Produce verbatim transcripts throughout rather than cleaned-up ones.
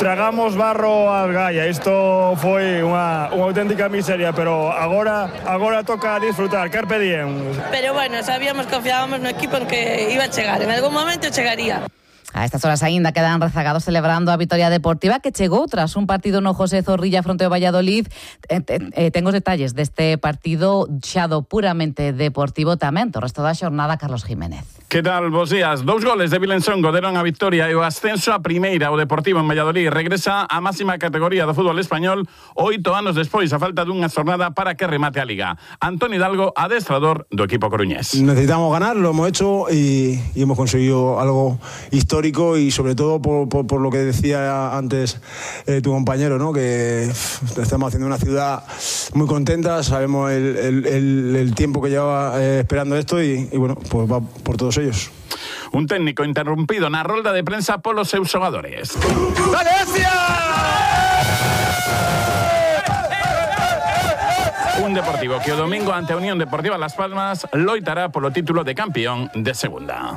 tragamos barro ás Gaia. Isto foi unha, unha auténtica miseria, pero agora agora toca disfrutar, carpe diem. Pero bueno, sabíamos, confiábamos no equipo en que iba a chegar, en algún momento chegaría. A estas horas aínda quedan rezagados celebrando a vitoria deportiva que chegou tras un partido no José Zorrilla fronte ao Valladolid. Eh, eh, ten os detalles deste partido xa do puramente deportivo tamén. O resto da xornada, Carlos Jiménez. Que tal, bos días? Dous goles de Vilensongo deron a victoria e o ascenso a primeira. O Deportivo en Valladolid regresa á máxima categoría do fútbol español oito anos despois, a falta dunha xornada para que remate a Liga. Antonio Hidalgo, adestrador do equipo coruñés. Necesitamos ganar, lo hemos hecho y, y hemos conseguido algo histórico y sobre todo por, por, por lo que decía antes eh, tu compañero, ¿no? Que pff, estamos haciendo una ciudad muy contenta, sabemos el, el, el, el tiempo que lleva eh, esperando esto y, y bueno, pues va por todos ellos. Un técnico interrumpido na rolda de prensa polos seus xogadores. ¡Valencia! Un Deportivo que o domingo ante a Unión Deportiva Las Palmas loitará polo título de campeón de segunda.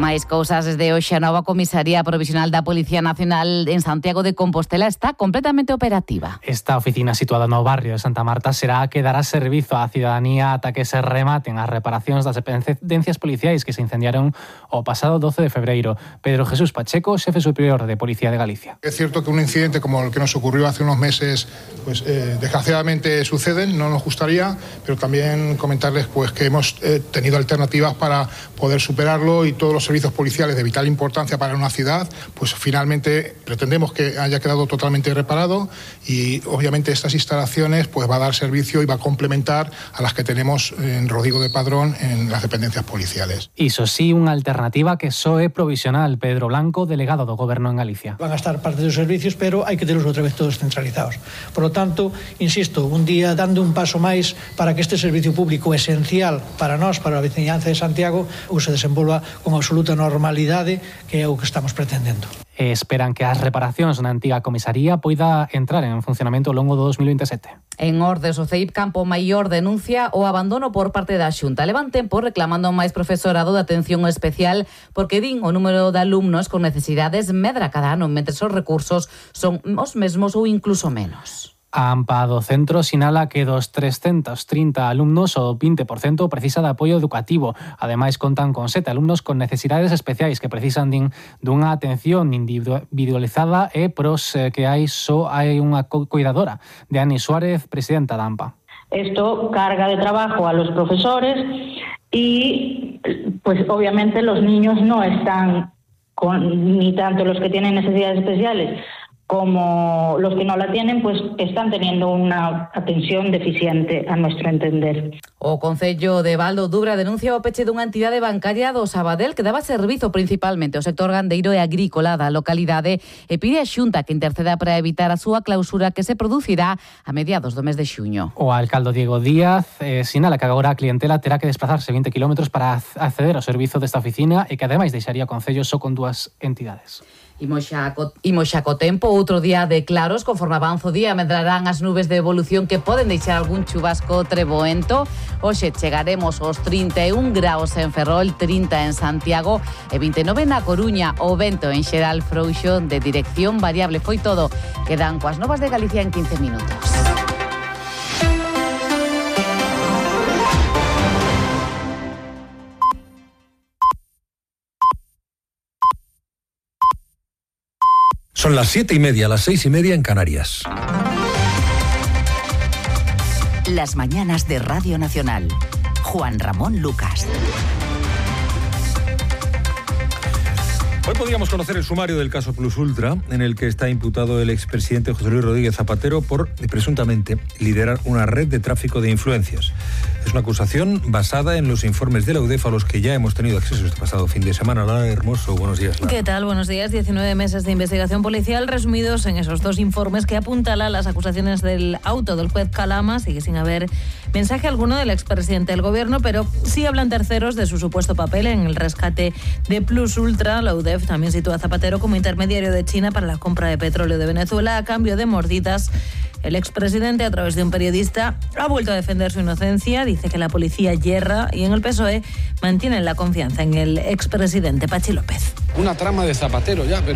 Máis cousas desde hoxe. A nova comisaría provisional da Policía Nacional en Santiago de Compostela está completamente operativa. Esta oficina situada no barrio de Santa Marta será a que dará servizo á cidadanía ata que se rematen as reparacións das dependencias policiais que se incendiaron o pasado doce de febreiro. Pedro Jesús Pacheco, xefe superior de Policía de Galicia. Es cierto que un incidente como el que nos ocurrió hace unos meses, pues eh, desgraciadamente suceden, no nos gustaría, pero también comentarles pues que hemos eh, tenido alternativas para poder superarlo y todos los servicios policiales de vital importancia para una ciudad, pues finalmente pretendemos que haya quedado totalmente reparado y obviamente estas instalaciones pues va a dar servicio y va a complementar a las que tenemos en Rodrigo de Padrón en las dependencias policiales. Iso sí, unha alternativa que só é provisional. Pedro Blanco, delegado do Goberno en Galicia. Van a estar parte dos servicios, pero hai que terlos outra vez todos centralizados. Por lo tanto, insisto, un día dando un paso máis para que este servicio público esencial para nós, para a veciñanza de Santiago, se desenvolva con absoluta normalidade, que é o que estamos pretendendo. E esperan que as reparacións na antiga comisaría poida entrar en funcionamento ao longo do dos mil veintesete. En Ordes, o C E I P Campo Maior denuncia o abandono por parte da Xunta. Levan tempo reclamando máis profesorado de atención especial porque din o número de alumnos con necesidades medra cada ano, mentre os recursos son os mesmos ou incluso menos. A AMPA do centro sinala que dos trescentos trinta alumnos o vinte por cento precisa de apoio educativo. Ademais, contan con sete alumnos con necesidades especiais que precisan din dunha atención individualizada e pros que hai só hai unha cuidadora. De Ani Suárez, presidenta da AMPA. Esto carga de trabajo a los profesores y pues obviamente los niños no están con, ni tanto los que tienen necesidades especiales como los que no la tienen, pues están teniendo una atención deficiente a nuestro entender. O Concello de Val do Dubra denuncia o peche dunha entidade bancaria do Sabadell que daba servizo principalmente ao sector gandeiro e agrícola da localidade e pide a Xunta que interceda para evitar a súa clausura que se producirá a mediados do mes de xuño. O alcalde Diego Díaz eh, sinala que agora a clientela terá que desplazarse vinte kilómetros para acceder ao servizo desta oficina e que ademais deixaría o Concello só con dúas entidades. Imos xa co, imos xa co tempo, outro día de claros, conforme avanza o día, medrarán as nubes de evolución que poden deixar algún chubasco treboento. Hoxe chegaremos aos trinta e un graus en Ferrol, trinta en Santiago e vinte e nove na Coruña. O vento en xeral frouxo de dirección variable. Foi todo. Quedan coas novas de Galicia en quince minutos. Son las siete y media, las seis y media en Canarias. Las mañanas de Radio Nacional. Juan Ramón Lucas. Hoy podríamos conocer el sumario del caso Plus Ultra, en el que está imputado el expresidente José Luis Rodríguez Zapatero por, presuntamente, liderar una red de tráfico de influencias. Es una acusación basada en los informes de la U D E F a los que ya hemos tenido acceso este pasado fin de semana. Lara Hermoso, buenos días. Lara. ¿Qué tal? Buenos días. diecinueve meses de investigación policial resumidos en esos dos informes que apuntalan las acusaciones del auto del juez Calama. Sigue sin haber mensaje alguno del expresidente del gobierno, pero sí hablan terceros de su supuesto papel en el rescate de Plus Ultra. La U D E F también sitúa a Zapatero como intermediario de China para la compra de petróleo de Venezuela a cambio de mordidas. El expresidente, a través de un periodista, ha vuelto a defender su inocencia, dice que la policía yerra y en el P S O E mantienen la confianza en el expresidente Pachi López. Una trama de Zapatero ya, pero